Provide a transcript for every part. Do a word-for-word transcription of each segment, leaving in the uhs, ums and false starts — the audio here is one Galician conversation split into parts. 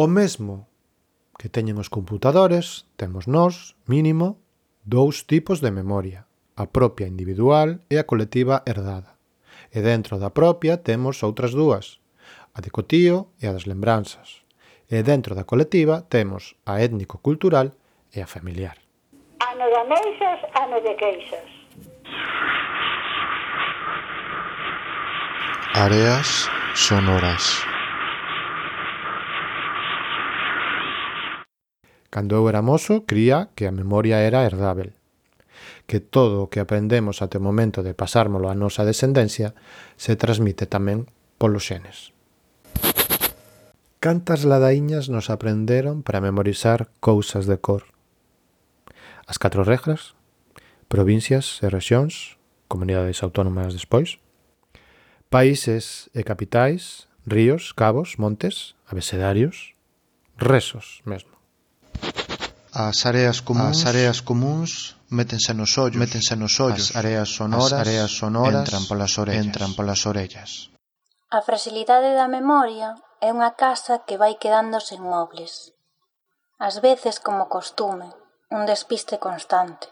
O mesmo que teñen os computadores, temos nós, mínimo, dous tipos de memoria, a propia individual e a colectiva herdada. E dentro da propia temos outras dúas, a de cotío e a das lembranzas. E dentro da colectiva temos a étnico-cultural e a familiar. Ano de ameixas, ano de queixas. Áreas sonoras. Cando eu era mozo, cría que a memoria era herdável, que todo o que aprendemos até o momento de pasármolo á nosa descendencia se transmite tamén polos xenes. Cantas ladaíñas nos aprenderon para memorizar cousas de cor? As catro regras, provincias e rexións, comunidades autónomas despois, países e capitais, ríos, cabos, montes, abecedarios, rezos mesmo. As áreas comuns, as áreas comuns métense nos ollos, métense nos ollos. As áreas sonoras, as áreas sonoras entran polas orellas, entran polas orellas. A fragilidade da memoria é unha casa que vai quedando sen mobles. Ás veces como costume, un despiste constante.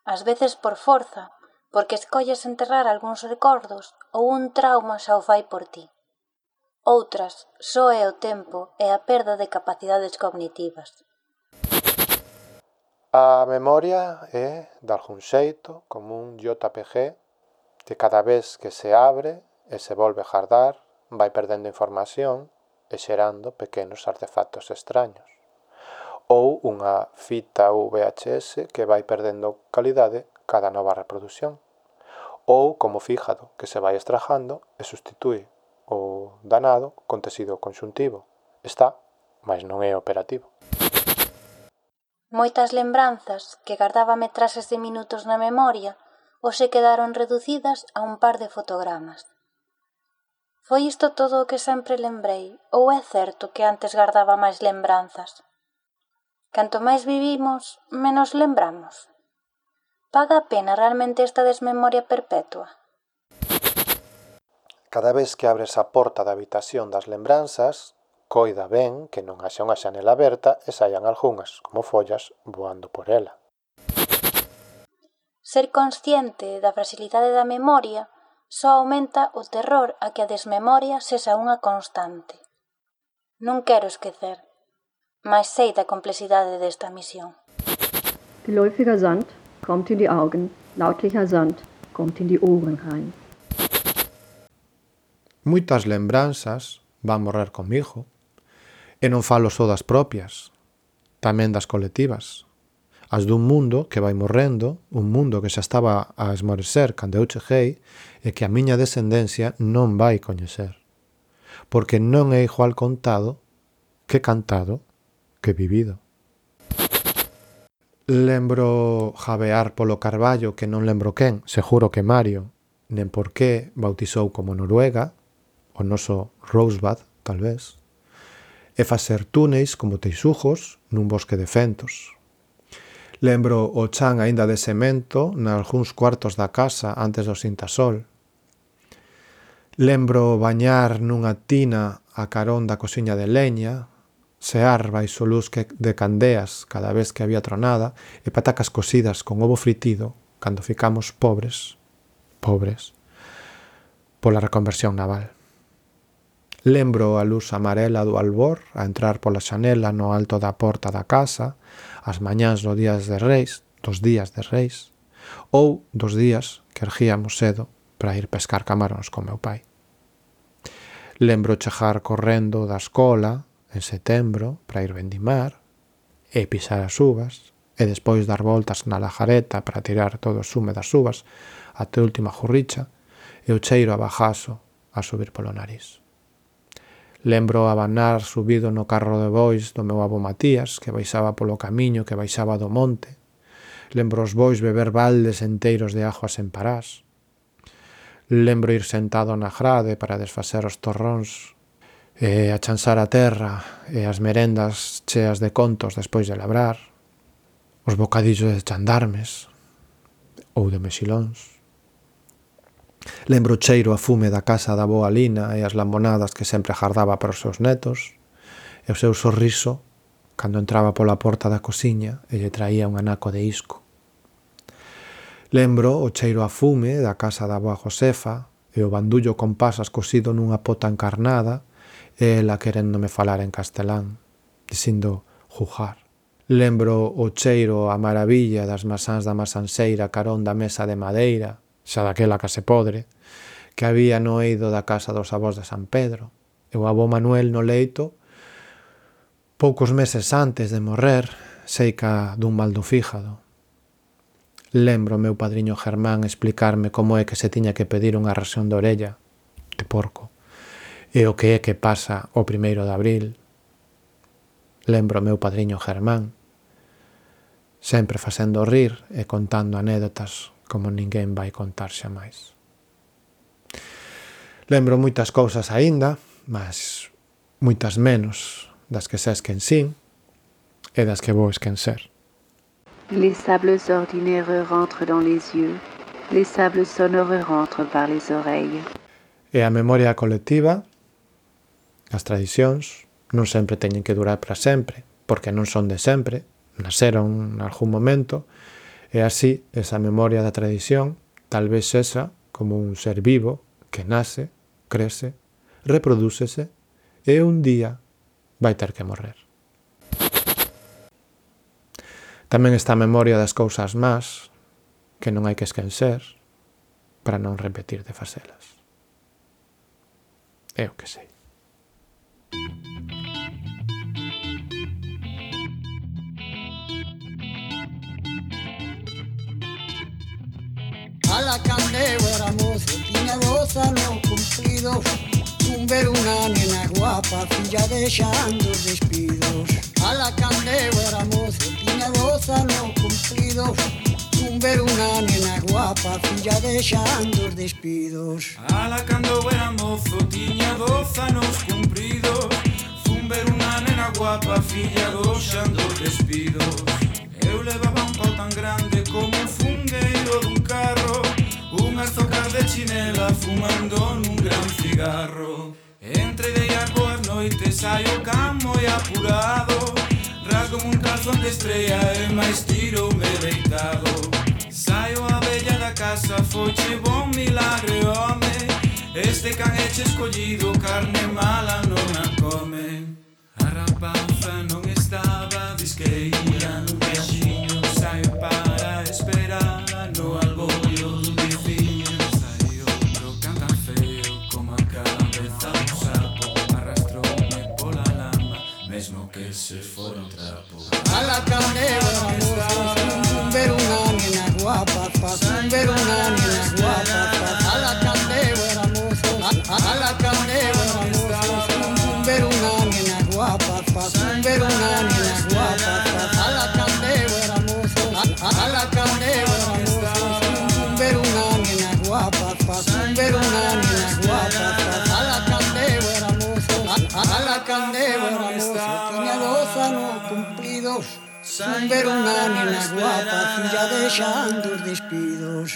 Ás veces por forza, porque escolles enterrar algúns recordos ou un trauma xa o fai por ti. Outras, só é o tempo e a perda de capacidades cognitivas. A memoria é, de algún xeito, como un J P G que cada vez que se abre e se volve a guardar vai perdendo información e xerando pequenos artefactos extraños. Ou unha fita V H S que vai perdendo calidade cada nova reproducción. Ou como fígado que se vai estrajando e sustitúe o danado con tecido conxuntivo. Está, mas non é operativo. Moitas lembranzas que gardaba metraxes de minutos na memoria hoxe quedaron reducidas a un par de fotogramas. Foi isto todo o que sempre lembrei, ou é certo que antes gardaba máis lembranzas? Canto máis vivimos, menos lembramos. Paga a pena realmente esta desmemoria perpetua? Cada vez que abres a porta da habitación das lembranzas, coida ben que non haxa unha xanela aberta e saian algunhas, como follas, voando por ela. Ser consciente da fragilidade da memoria só aumenta o terror a que a desmemoria sexa unha constante. Non quero esquecer, mas sei da complexidade desta misión. Geläufiger Sand kommt in die Augen, lautlicher Sand kommt in die Ohren rein. Moitas lembranzas van morrer comigo, e non falo só das propias, tamén das colectivas, as dun mundo que vai morrendo, un mundo que xa estaba a esmorecer cando eu cheguei e que a miña descendencia non vai coñecer, porque non é igual contado que cantado que vivido. Lembro jabear polo Carballo que non lembro quen, seguro que Mario, nen por qué bautizou como Noruega, o noso Rosebud, tal vez, e facer túneis como teixugos nun bosque de fentos. Lembro o chan aínda de semento nalgúns cuartos da casa antes do sintasol. Lembro bañar nunha tina a carón da cosiña de leña, sear baixo luz de candeas cada vez que había tronada e patacas cocidas con ovo fritido cando ficamos pobres, pobres, pola reconversión naval. Lembro a luz amarela do albor a entrar pola xanela no alto da porta da casa, as mañás dos días de Reis, dos días de Reis, ou dos días que erguíamos cedo para ir pescar camaróns con meu pai. Lembro chegar correndo da escola en setembro para ir vendimar e pisar as uvas e despois dar voltas na lajareta para tirar todo o sume das uvas até a última jurricha e o cheiro a bajazo a subir polo nariz. Lembro abanar subido no carro de bois do meu avó Matías, que baixaba polo camiño que baixaba do monte. Lembro os bois beber baldes enteiros de auga sen parás. Lembro ir sentado na grade para desfacer os torróns e achansar a terra e as merendas cheas de contos despois de labrar. Os bocadillos de chandarmes ou de mexilóns. Lembro o cheiro a fume da casa da boa Lina e as lambonadas que sempre agardaba para os seus netos, e o seu sorriso cando entraba pola porta da cociña e lle traía un anaco de isco. Lembro o cheiro a fume da casa da boa Josefa e o bandullo con pasas cosido nunha pota encarnada e ela queréndome falar en castelán, dicindo jugar. Lembro o cheiro a maravilla das masáns da masanseira carón da mesa de madeira, xa daquela case podre, que había no eido da casa dos avós de San Pedro, e o avó Manuel no leito, poucos meses antes de morrer, seica dun mal do fígado. Lembro o meu padriño Germán explicarme como é que se tiña que pedir unha ración de orella, de porco, e o que é que pasa o primeiro de abril. Lembro o meu padriño Germán, sempre facendo rir e contando anécdotas como ninguén vai contar xa máis. Lembro moitas cousas aínda, mas moitas menos das que ses quen sin e das que vou esquencer. Les sables ordinaires rentrent dans les yeux, les sables sonores rentrent par les oreilles. E a memoria colectiva, as tradicións, non sempre teñen que durar para sempre, porque non son de sempre, naceron en algún momento, e así esa memoria da tradición tal vez esa como un ser vivo que nace, crece, reprodúcese e un día vai ter que morrer. Tamén está a memoria das cousas más que non hai que esquecer para non repetir de facelas. É o que sei. A la candeo era mozo, tiña doce anos cumplidos. Un ver unha nena guapa, filla deixando os despidos. A la candeo era mozo, tiña doce anos cumplidos. Un ver unha nena guapa, filla deixando os despidos. A la candeo era mozo, tiña doce anos cumpridos. Fun ver unha nena guapa, filla deixando os despidos. Eu levaba un pau tan grande como un fungueiro dun carro, unhas zocas de chinela fumando nun gran cigarro. Entre de as boas noites saio camo e apurado, rasgo un calzón de estrella e máis tiroume deitado. Saio a bella da casa, foche bon milagre, home, este can eche escollido, carne mala non a come. A rapaza non estaba disqueira nun viaxiño, saio para esperar no albollo dun viciño. Saio outro can tan feo como a cabeza un sapo, arrastroume pola lama, mesmo que se fora un trapo. A la candela un ver unha nena guapa, un ver unha nena guapa. A la candela era mozo, a la candela era mozo, un ver unha nena guapa, un ver unha nena guapa. A la candela era mozo, a la candela era mozo, un ver unha nena guapa, un ver unha nena guapa. A la candela era mozo, a la candela era mozo, tiña doce anos cumplidos. Un ver unha nena guapa, filla deixando os despidos.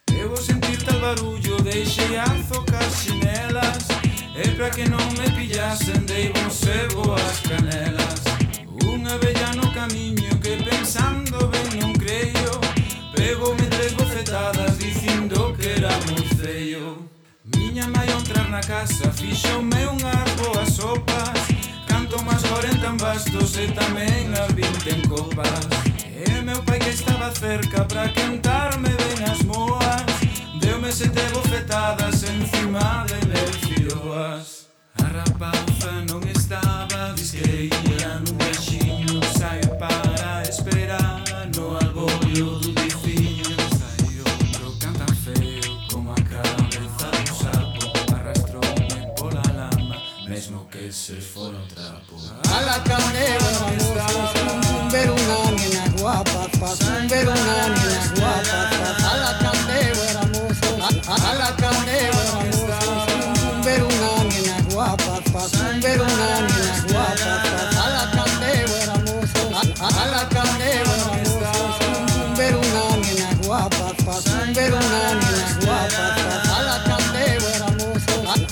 Debo sentir tal barullo, deixei a zocar chinelas, e pra que non me pillasen dei bon sebo as canelas. Unha bella no camiño que pensando ben non creio, pegoume tres bofetadas dicindo que era moi feio. Miña mai ao entrar na casa fixoume unhas boas sopas, canto máis corenta en bastos e tamén as vinte en copas. E meu pai que estaba cerca pra cantarme ben as moas, deume sete bofetadas encima de mil firoas. A rapaza non estaba disqueira nun viaxiño, saio para esperar no albollo dun viciño. Saio outro can tan feo como a cabeza dun sapo, arrastroume pola lama, mesmo que se fora un trapo. A la candela era mozo, un ver unha nena guapa, un ver unha nena guapa. A la candela era mozo, a la candela era mozo, un ver unha nena guapa,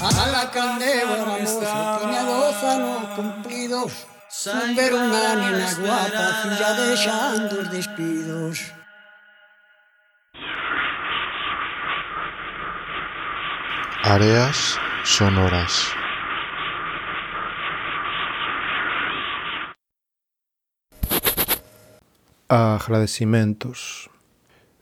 a la candeo era mozo, tiña doce anos cumplidos, sin ver unha nena guapa, filla deixando os despidos. Áreas sonoras. Agradecimentos.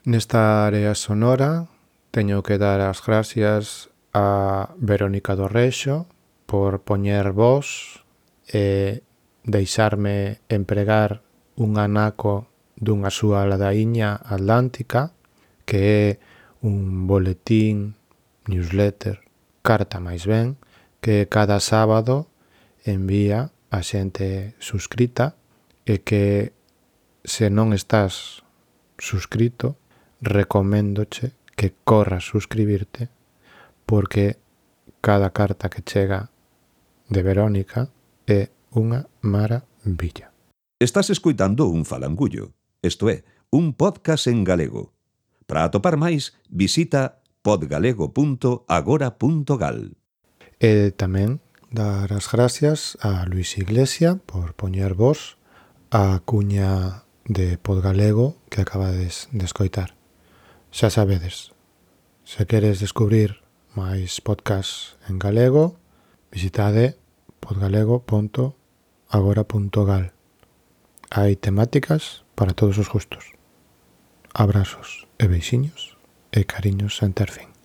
Nesta área sonora teño que dar as gracias a Verónica do Rexo por poñer voz e deixarme empregar un anaco dunha súa ladaíña atlántica, que é un boletín, newsletter, carta máis ben, que cada sábado envía a xente suscrita e que, se non estás suscrito, recoméndoche que corras suscribirte, porque cada carta que chega de Verónica é unha maravilla. Estás escoitando un falangullo, isto é, un podcast en galego. Para atopar máis, visita podgalego punto agora punto gal. E tamén dar as gracias a Luis Iglesia por poñer voz a cuña de Podgalego que acabades de escoitar. Xa sabedes, se queres descubrir máis podcasts en galego, visitade podgalego punto agora punto gal. Hai temáticas para todos os gustos. Abrazos e beixiños e cariños sen ter fin.